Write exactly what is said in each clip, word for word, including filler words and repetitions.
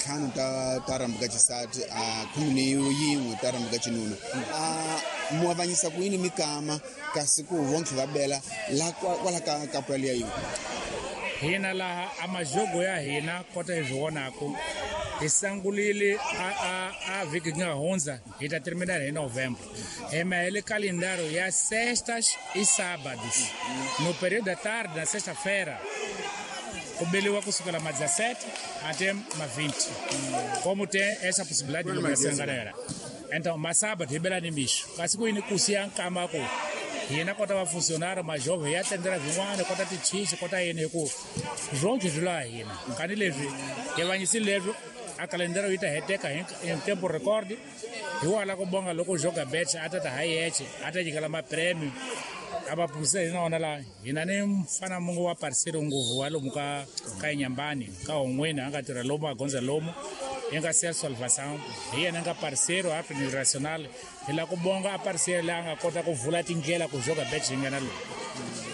ntlhanu ta ta rambuka xisati a khume ni yin'we ta rambuka xinuna a mu avanyisa ku yini mikama kasi ku vonke va bela la kwala ka kapu yaliya yin'we hina laha a majogo ya hina kota hi swi vonaku hi sangulile a a a vhiki nga hundza hi ta terminar hi novembro hi mahele calendário ya sextas e sábados no período da tarde na sexta-feira ku beliwa kusukela ma dezessete até ma vinte como tem essa possibilidade de locação galera então ma sábado hi bela ni mixo kasi ku yini ku siya nkama ku hina kota va funcionário ma jovem ya tendela vin'wana kota tichichi kota yini hi ku swonke swi laha hina kani leswi hi vanyisile leswi a calendário yi ta heteka hi tempo record hi wala ku bonga loko joga bet a ta ta ha yeche a ta nyikela maprêmio a va pulisa hina wona laha hina ni mfana mungu wa parceiro nguvu wa lomu ka ka Inhambane ka Hon'wini a nga tirha lomu a gondza lomu hi nga siya salvação hi yena nga parceiro a nacional hi la ku bonga a parceiro leyi a nga kota ku vula tindlela ku joga bet yi nghena lomu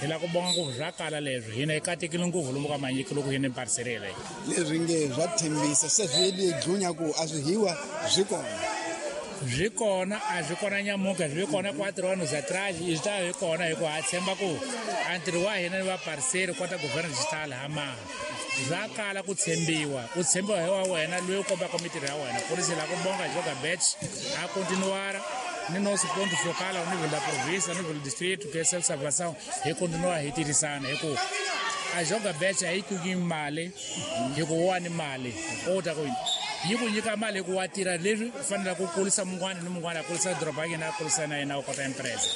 hi la ku bonga ngopfu swa kala leswi hina hi katekile ngopfu lomu ka manyiki loko hi ni parceiro leyi leswi nge swa tshembisa se swi li dlunya ku a swi hiwa swi kona swi kona a swi kona nyamuka swi kona quatro anos atrás swi ta hi kona hi ku ha tshemba ku a ntirho wa hina ni va parceiro kota governo digital ha maha swa kala ku tshembiwa u tshembiwa hi wa wena loyi u kombaka mitirho ya wena por isso la ku bonga joga bet a continuar ni nosso ponto focal ao nível da província, ao nível do distrito, que é a salvação, e continuar hi tirhisana hi ku a joga bet a yi ku mali hi ku wa ni mali u ta ku yi ku nyika mali hi ku wa tirha leswi u fanele ku kulisa mun'wana ni mun'wana a kulisa doroba ya yena a kulisa na yena u kota empresa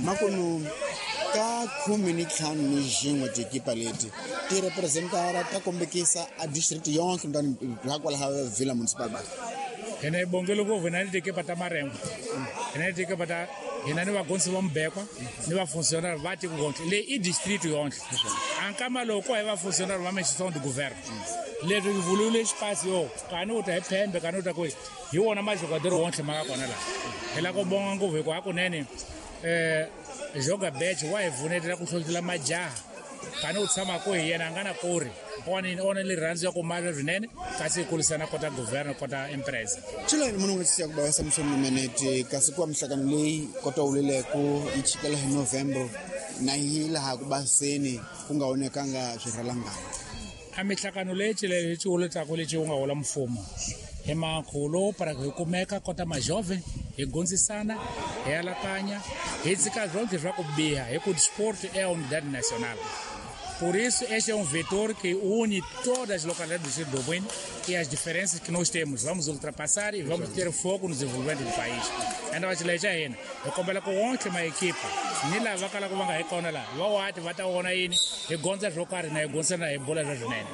makunu ka khume ni ntlhanu ni xin'we tikipa leti ti representara ta kombekisa a district yonke mntani ra kwalaha Vila Municipal ba hina hi bongele ngopfu hina ni tikipa ta Marengo hina ni tikipa ta hina ni vagonsi va Mubekwa ni vafuncionário va tiko yonke leyi i district yonke a nkama loko hi vafuncionário va instituição de governo leswi hi vulule xipasi yo kani u ta hi phembe kani u ta kwihi hi wona majogador wonke ma nga kona laha hi la ku bonga ngopfu hikuva hakunene um joga bet wa hi pfunetela ku hlohlotela majaha kani u tshama ko hi yena a nga na kori ona ona rirhandzu ya ku mali swinene kasi hi kulisana kota governo kota empresa chilani munhu nga siya ku bava Samson Menete kasi ku wa mihlangano leyi kota wuleleko yi chikela hi November na yi laha ku baseni ku nga onekanga swirhalangana a mihlangano leyi chilele hi xiwuletaku lexi wu nga hola mfumo hi makhulu para hi kumeka kota majove hi gondzisana hi alakanya hi tshika swonke swa ku biha hi ku sport é a unidade nacional. Por isso, este é um vetor que une todas as localidades do distrito do Bueno e as diferenças que nós temos. Vamos ultrapassar e vamos ter foco no desenvolvimento do país. Ainda vai te levar ainda. Eu compelo com ontem uma equipa. Ni lá vai calar com uma recona lá. Vai lá, vai estar ona aí. E gonza jogar na gonza na bola já junene.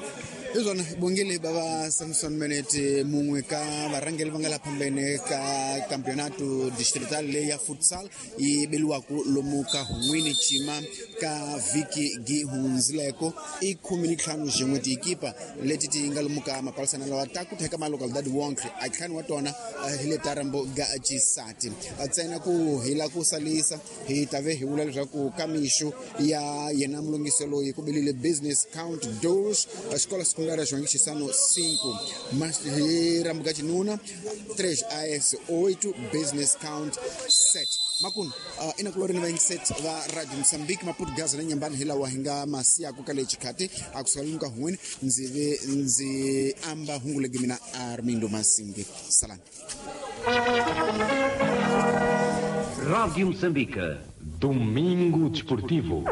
Izona bongile baba Samson Menete mungwe ka varangeli va nga la phambene ka campeonato distrital leyi ya futsal yi beliwaku lomu ka Hun'wini Chima ka vhiki gi hundzileko i khume ni ntlhanu xin'we tikipa leti ti nga lomu ka mapalisana lawa ta ku theka malocalidade wonke a ntlhanu wa tona hi le ta rambo ga xisati ntsena ku hi la ku salisa hi ta ve hi vula leswaku ka mixo ya yena mulungisi loyi ku belile business count doors xikolo secundária João Chissano cinco, mas Rambuka Chinuna três A S oito, business count sete. Makunu uh, ina kulori ni vaingiset va Radio Mozambique Maputo Gaza na Inhambane hi lawa hi nga masiyaku ka lexi khati a kusuka lomu ka Hun'wini ndzi ve ndzi amba hungu legi mina Armindo Masingi. Salani. Rádio Moçambique, Domingo Desportivo.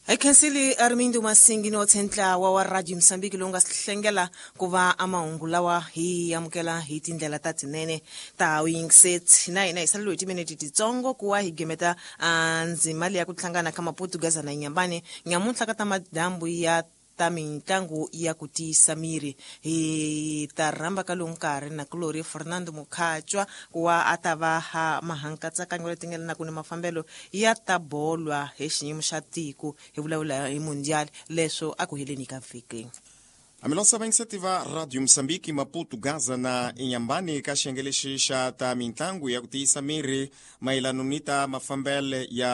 Hi khensile Armindo Masingi no ntlawa wa Radio Mozambique lowu nga hlengela ku va a mahungu lawa hi amukela hi tindlela ta tinene ta wingset na hina hi saleliwe hi timinete titsongo ku wa hi gemeta ndzima leya ku hlangana ka Maputo Gaza na Inhambane nyamuntlha ka ta madyambu ya ta mitlangu ya ku tiyisa miri hi ta rhamba ka lowu nkarhi na kulori Fernando Mukhatshwa ku wa a ta va ha mahankatsakanyo leti nga na ku ni mafambelo ya ta bolwa hi xiyimo xa tiko hi vulavula hi mundial leswo a ku heleni ka vhiki. Amilosa vainiciativa Rádio Moçambique Maputo Gaza na Inhambane ka xiyenge lexi xa ta mitlangu ya ku tiyisa miri mayelano ni ta mafambele ya